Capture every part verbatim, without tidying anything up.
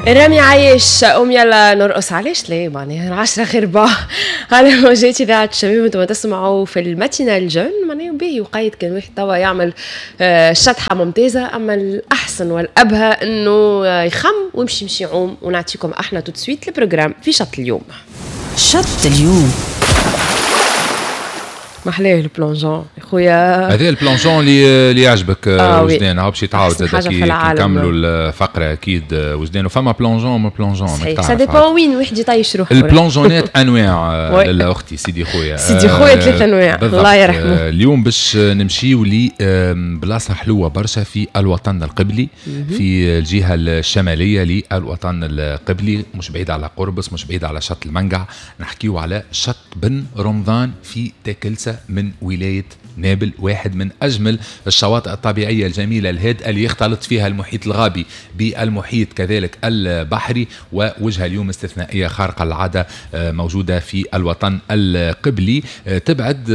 رامي عايش قوم يلا نرقص، علاش ليه؟ معناها عشرة غير ربع على موجات اذاعة الشباب، انتم تسمعوا في ال matinale jeune. معناها باهي وقيت كان واحد توا يعمل آه، شطحة ممتازه، اما الاحسن والابهى انه يخم ويمشي يمشي يعوم. ونعطيكم احنا tout de suite ال programme في شط اليوم. شط اليوم. محلاه ال plongeon يا خويا. هذا ال plongeon اللي اللي يعجبك. آه وجدان هاو باش يتعاود زاد كي نكملوا الفقرة اكيد وجدان. وفما plongeon ما plongeon. صحيح، ça dépend وين واحد يطيش روحه. ال plongeon ات انواع لاله اختي، سيدي خويا. سيدي خويا ثلاث انواع، الله يرحمه. اليوم باش نمشيو لبلاصه حلوة برشا في الوطن القبلي، في الجهة الشمالية للوطن القبلي، مش بعيد على قربص، مش بعيد على شط المنقع. نحكيو على شط بن رمضان في تاكلسة من ولاية نابل، واحد من أجمل الشواطئ الطبيعية الجميلة الهادئة اللي يختلط فيها المحيط الغابي بالمحيط كذلك البحري. ووجهة اليوم استثنائية خارقة العادة آه، موجودة في الوطن القبلي. آه، تبعد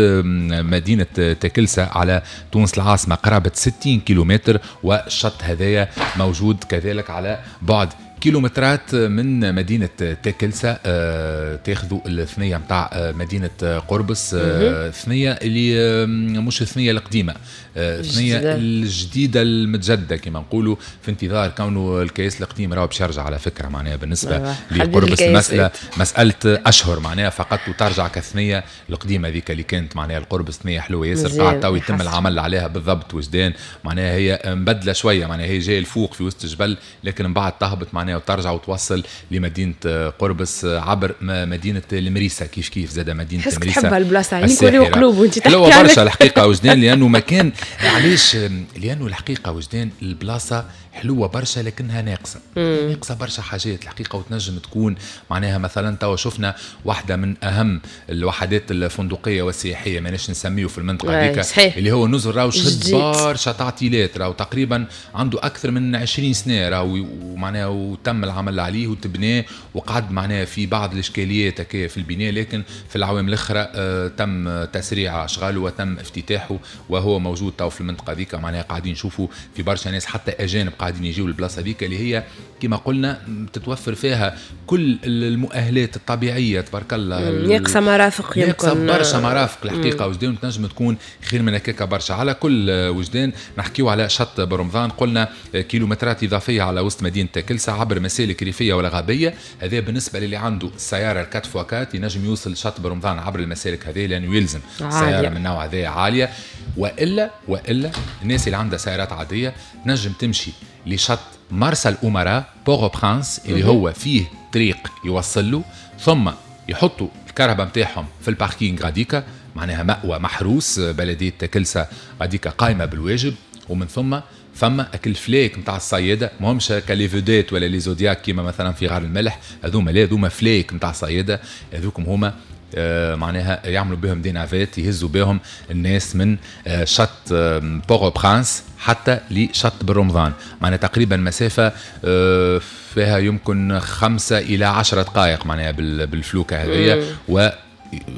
مدينة تاكلسة على تونس العاصمة قرابة ستين كيلومتر، والشط هذايا موجود كذلك على بعد كيلومترات من مدينة تاكلسة. آه، تاخذوا الثنية متاع آه، مدينة قربص، آه، ثنية اللي مش الثنية القديمة، الثنية الجديدة المتجددة كما نقولوا، في انتظار كونه الكياس القديم راهو باش يرجع على فكرة. معناها بالنسبة لقربص المسألة مسألة أشهر معناها فقط وترجع كثنية القديمة ذيك اللي كانت معناها القربص، ثنية حلوة ياسر قاعد تو يتم العمل عليها بالضبط وجدان. معناها هي مبدلة شوية، معناها هي جاية الفوق في وسط الجبل، لكن من بعد تهبط معناها وترجع وتوصل لمدينة قربص عبر مدينة المريسه. كيف كيف زاد مدينة المريسه. تحبها البلاصه، عينيك وليو قلوب وانت تحكي. حلوة برشا الحقيقة وجدان، لانه مكان علاش؟ لانه الحقيقة وجدان البلاصة حلوة برشا لكنها ناقصه، ناقصه برشا حاجات الحقيقه. وتنجم تكون معناها مثلا توا شفنا واحدة من اهم الوحدات الفندقية والسياحيه، ماناش نسميه في المنطقة هذيك، اللي هو نزل راهو شد برشا تعطيلات، راهو تقريبا عنده اكثر من عشرين سنة راهو، ومعناها وتم العمل عليه وتبناه وقعد معناها في بعض الاشكاليات هكايا في البناء، لكن في العوام الاخرى آه تم تسريع اشغاله وتم افتتاحه وهو موجود تو في المنطقة هذيك. معناها قاعدين نشوفوا في برشا ناس حتى اجانب قاعدين يجيو للبلاصه هذيك اللي هي كما قلنا تتوفر فيها كل المؤهلات الطبيعية تبارك الله. ناقصه مرافق يمكن، ناقصه برشا مرافق الحقيقة وجدان، تنجم تكون خير من هكاك برشا. على كل وجدان نحكيو على شط برمضان، قلنا كيلومترات اضافية على وسط مدينة تاكلسة عبر مسالك ريفيه ولا غابيه. هذا بالنسبة للي عنده السيارة ال quatre fois quatre ينجم يوصل شط برمضان عبر المسالك هذه، لانه يلزم سيارة من نوع هذا عالية. والا والا الناس اللي عندها سيارات عادية تنجم تمشي لشط مرسى الأمراء Port-au-Prince اللي هو فيه طريق يوصل له، ثم يحطوا الكرهبة نتاعهم في ال parking غاديكا، معناها مأوى محروس بلدية تاكلسة غاديكا قايمة بالواجب. ومن ثم فما اك الفلايك نتاع الصياده، ماهمش ك les vedettes ولا les zodiacs كيما مثلا في غار الملح، هذوما لا، هذوما فلايك نتاع الصياده، هذوكم هما آه معناها يعملوا بهم des navettes يهزوا بهم الناس من آه شط آه Port-au-Prince حتى لشط بالرمضان. معناها تقريبا مسافة آه فيها يمكن خمسة إلى عشرة دقائق معناها بالفلوكة هذية، و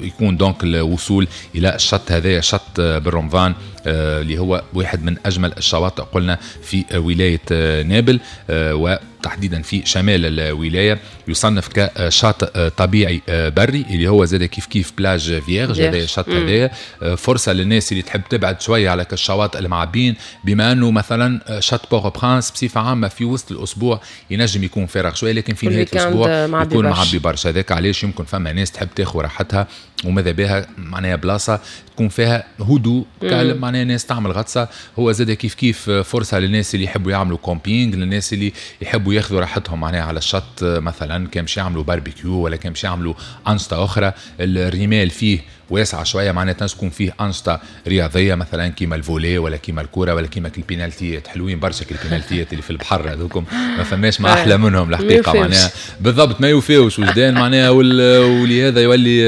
يكون donc الوصول الى الشط هذايا شط بالرمضان اللي هو واحد من اجمل الشواطئ قلنا في ولاية نابل وتحديدا في شمال الولايه. يصنف كشاطئ طبيعي بري اللي هو زاد كيف كيف plage vierge. هذا الشط هذايا فرصة للناس اللي تحب تبعد شوية على الشواطئ المعبين، بما انه مثلا شط Port-au-Prince بصفة عامة في وسط الاسبوع ينجم يكون فارغ شوية، لكن في نهاية الاسبوع يكون معبي برشا. هذاك علاش يمكن فما ناس تحب تاخذ راحتها وماذا بها معناها بلاصة تكون فيها هدوء calme، معناها ناس تعمل غطسه. هو زاد كيف كيف فرصة للناس اللي يحبوا يعملوا camping، للناس اللي يحبوا ياخذوا راحتهم معناها على الشط، مثلا كان باش يعملوا باربيكيو ولا كان باش يعملوا انشطة اخرى. الرمال فيه واسعة شوية، معناها تكون فيه انشطة رياضية مثلا كيما ال volley ولا كيما الكورة ولا كيما البينالتيات. حلوين برشا البينالتيات اللي في البحر هذوكم، ما فماش ما احلى منهم الحقيقة معناها بالضبط، ما يوفيوش وجدان معناها. ولهذا يولي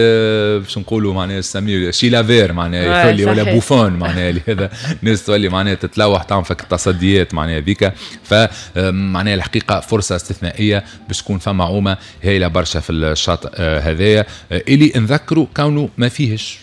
باش نقولوا معناها نسميه شيلافير معناها يولي ولا بوفون معناها، لهذا الناس تولي معناها تتلوح تعمل فك التصديات معناها ذيك. فمعناها الحقيقة فرصة استثنائية باش تكون فما عومه هايلة برشا في الشاطئ هذايا اللي نذكروا كونه ما فيهش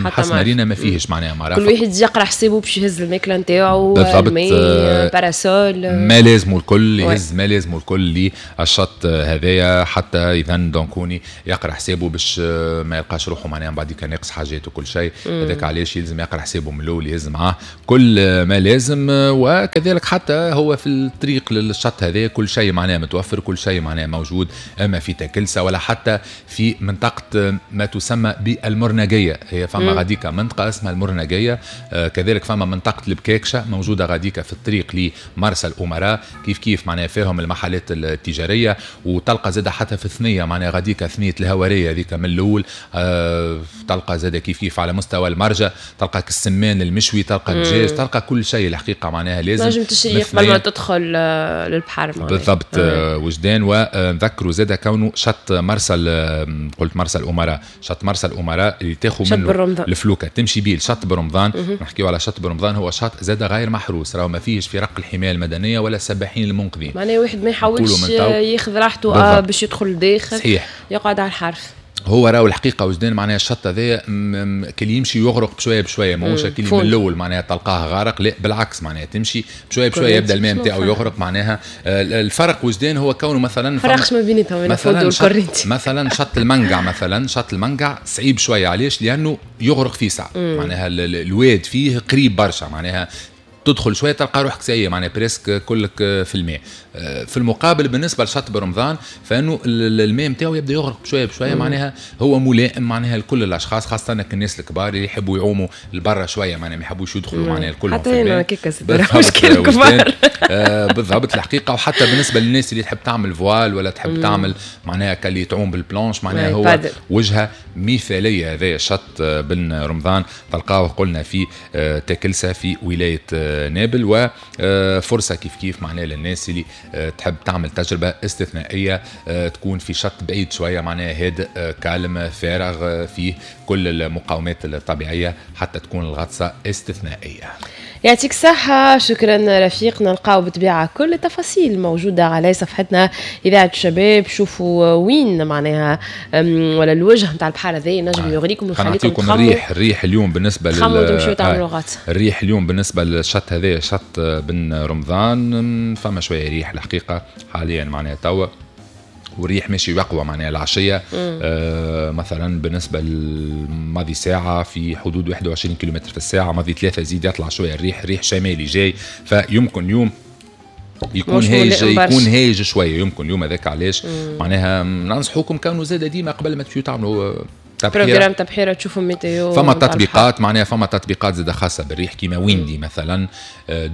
حسب ما رينا ما فيهش معناها مرافق. كل واحد يقرا حسابه باش يهز الماكلة نتاعو، الماء، parasol، ما لازمه الكل يهز، ما لازمه الكل للشط هذايا، حتى اذا donc هوني يقرا حسابه باش ما يلقاش روحه معناها من بعد كان ناقص حاجات وكل شيء. هذاك علاش يلزم يقرا حسابه من الاول، يهز معاه كل ما لازم. وكذلك حتى هو في الطريق للشط هذا كل شيء معناها متوفر، كل شيء معناها موجود، اما في تاكلسه ولا حتى في منطقة ما تسمى بالمرنجيه. هي فما غاديكا منطقة اسمها المرنجيه، آه كذلك فما منطقة البكاكشه موجودة غاديكا في الطريق لمرسى الامراء، كيف كيف معناها فيهم المحلات التجارية، وتلقى زاده حتى في الثنية معناها غاديكا ثنيه الهواريه هذيك من الاول، آه تلقى زاده كيف كيف على مستوى المرجه تلقى السمان المشوي، تلقى الدجاج، تلقى كل شيء الحقيقة معناها لازم لازم تشري قبل ما تدخل للبحر معناها. بالضبط آه. وجدان. ونذكروا زاده كونه شط مرسى، قلت مرسى الامراء، شط مرسى الامراء اللي تاخذ منه الفلوكه تمشي بيه لشط برمضان. نحكيو على شط برمضان، هو شط زاد غير محروس، راهو ما فيهش فرق الحماية المدنية ولا السباحين المنقذين، معناها واحد ما يحاولش ياخذ راحته باش يدخل لداخل، صحيح، يقعد على الحرف. هو راهو الحقيقة وجدان معناها الشط هذايا كي يمشي يغرق بشوية بشوية، ماهوش كي من الاول معناها تلقاه غارق، لا بالعكس معناها تمشي بشوية بشوية يبدا الماء نتاعو يغرق معناها. الفرق وجدان هو كونه مثلا فرقش ما بيناتهم مثلا شط مثلا شط المنقع، مثلا شط المنقع صعيب شوية، علاش؟ لانه يغرق فيه ساعة معناها الواد فيه قريب برشا، معناها تدخل شوية تلقى روحك ساية معناها presque كلك في الماء. في المقابل بالنسبة لشط برمضان فانه الماء نتاعو يبدا يغرق بشوية بشوية، معناها هو ملائم معناها لكل الاشخاص، خاصة الناس الكبار اللي يحبوا يعوموا لبرا شوية معناها ما يحبوش يدخلوا معناها الكل حتى انا كيكا مشكل كبار. آه بالضبط الحقيقة. وحتى بالنسبة للناس اللي تحب تعمل voile ولا تحب تعمل معناها كاللي تعوم بال planche معناها هو وجهه مثاليه هذا شط بن رمضان، تلقاوه قلنا في تاكلسه في ولاية نابل. وفرصه كيف كيف معناها للناس اللي تحب تعمل تجربه استثنائية تكون في شط بعيد شوية معناها هادئ calme فارغ فيه كل المقاومات الطبيعية حتى تكون الغطسه استثنائية. يعطيك الصحة، شكرا رفيق. نلقاو بالطبيعة كل التفاصيل موجودة على صفحتنا إذاعة الشباب، شوفوا وين معناها ولا الوجه نتاع البحر هذا نجم يغريكم ويخليكم تخموا. الريح، الريح اليوم بالنسبة لل تمشيو تعملوا غطس. الريح اليوم بالنسبة للشط هذا شط بن رمضان فما شوية ريح الحقيقة حاليا معناها توا، والريح ماشي يقوى معناها العشية. آه مثلا بالنسبة لماضي ساعة في حدود واحد وعشرين كيلومتر في الساعة، ماضي ثلاثة يزيد يطلع شوية الريح، ريح شمالي جاي، فيمكن اليوم يكون هايج، يكون هايج شوية يمكن اليوم. هذاك علاش معناها ننصحوكم كانوا زاد ديما قبل ما تمشيو تعملوا programme تبحيره تشوفوا météo. فما تطبيقات معناها فما تطبيقات زاد خاصة بالريح كيما Windy مثلا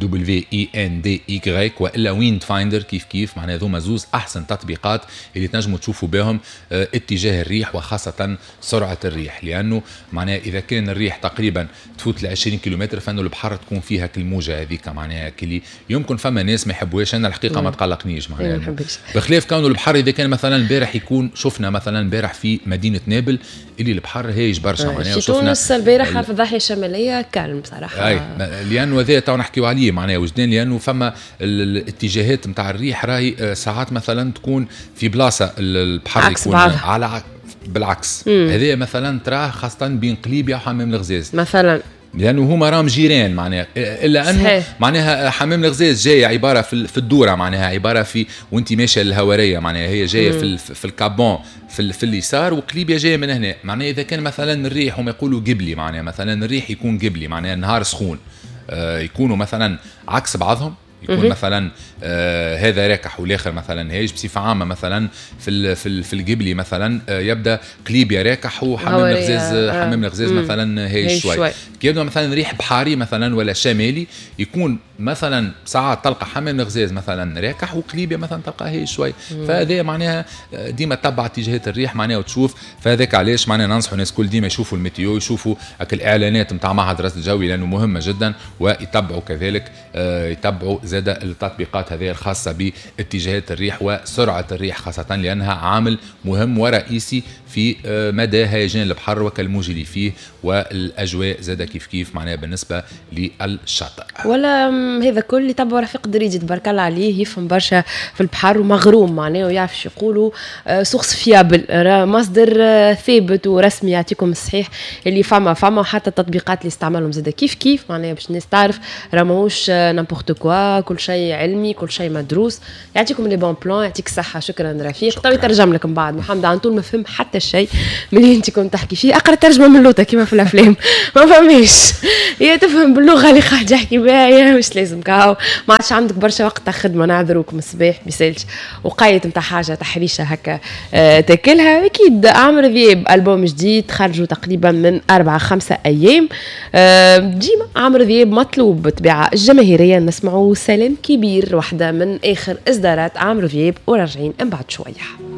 W I N D Y والا Wind Finder كيف كيف معناها ذوما زوز احسن تطبيقات اللي تنجموا تشوفوا بهم اتجاه الريح وخاصة سرعة الريح، لانه معناها اذا كان الريح تقريبا تفوت ل عشرين كيلومتر فانه البحر تكون فيها كالموجه هذيك معناها كلي يمكن فما ناس ما يحبوهاش. انا الحقيقة ما تقلقنيش معناها، بخلاف كونه البحر اذا كان مثلا البارح يكون شفنا مثلا البارح في مدينة نابل اللي البحر هايج برشا معناها. في تونس البارحة في الضاحية الشمالية calme بصراحة، اي لانه هذا تو نحكيو عليه معناها وجدان، لانه فما الاتجاهات نتاع الريح راهي ساعات مثلا تكون في بلاصة البحر يكون على بالعكس. هذا مثلا تراه خاصة بين قليبيا وحمام الغزاز مثلا، لانه هما راهم جيران معناها، الا انه صحيح. معناها حمام الغزاز جاية عبارة في في الدورة معناها عبارة في وانت ماشية للهواريه معناها هي جاية في في الكابون في, في اليسار، وقليبيا جاية من هنا معناها. اذا كان مثلا الريح هم يقولوا قبلي معناها مثلا الريح يكون قبلي معناها النهار سخون، آه يكونوا مثلا عكس بعضهم، يكون مثلا آه هذا راكح والاخر مثلا هايج. بصفة عامة مثلا في في في القبلي مثلا آه يبدا قليبيا راكح وحمام الغزاز حمام الغزاز مثلا هايج شوي. كي يبدا مثلا ريح بحاري مثلا ولا شمالي يكون مثلا ساعات تلقى حمام الغزاز مثلا راكح وقليبيا مثلا تلقى هايج شوي. فهذا معناها ديما تتبع اتجاهات الريح معناها وتشوف. فهذاك علاش معناها ننصحوا الناس كل ديما يشوفوا ال météo، يشوفوا الاعلانات نتاع معهد الرصد الجوي لانه مهمة جدا، ويتبعوا كذلك آه يتبعوا زاد التطبيقات هذه الخاصة باتجاهات الريح وسرعة الريح خاصة، لأنها عامل مهم ورئيسي في مدى هيجان البحر وكالموج اللي فيه والأجواء زاد كيف كيف معناها بالنسبة للشاطئ. ولا هذا كل اللي تبع رفيق دريدي تبارك الله عليه، يفهم برشا في البحر ومغروم معناه ويعرف شو يقولوا، source fiable، مصدر آه، ثابت ورسمي يعطيكم الصحيح اللي فما فما وحتى التطبيقات اللي استعملهم زاد كيف كيف، معناها باش الناس تعرف راه ماهوش n'importe quoi، كل شيء علمي، كل شيء مدروس، يعطيكم les bons plans. يعطيك الصحه، شكرا رفيق. تو يترجم لكم بعد محمد عنطول، ما فهم حتى شيء من اللي انت كنت تحكي فيه. اقرا ترجمه من لوطه كيما في الافلام، ما فهميش، هي تفهم باللغة اللي قاعد يحكي بها يا مش لازم كاو. ما عادش عندك برشا وقت تاع خدمه، نعذروكم، الصباح ميسالش، وقايت نتاع حاجة تحريشه هكا آه تاكلها. اكيد عمرو ذياب البوم جديد خرجوا تقريبا من اربعة خمسة ايام. آه ديما عمرو ذياب مطلوب بالطبيعة الجماهيريه. نسمعوا سلام كبير، واحدة من اخر اصدارات عمرو ذياب، وراجعين من بعد شويه.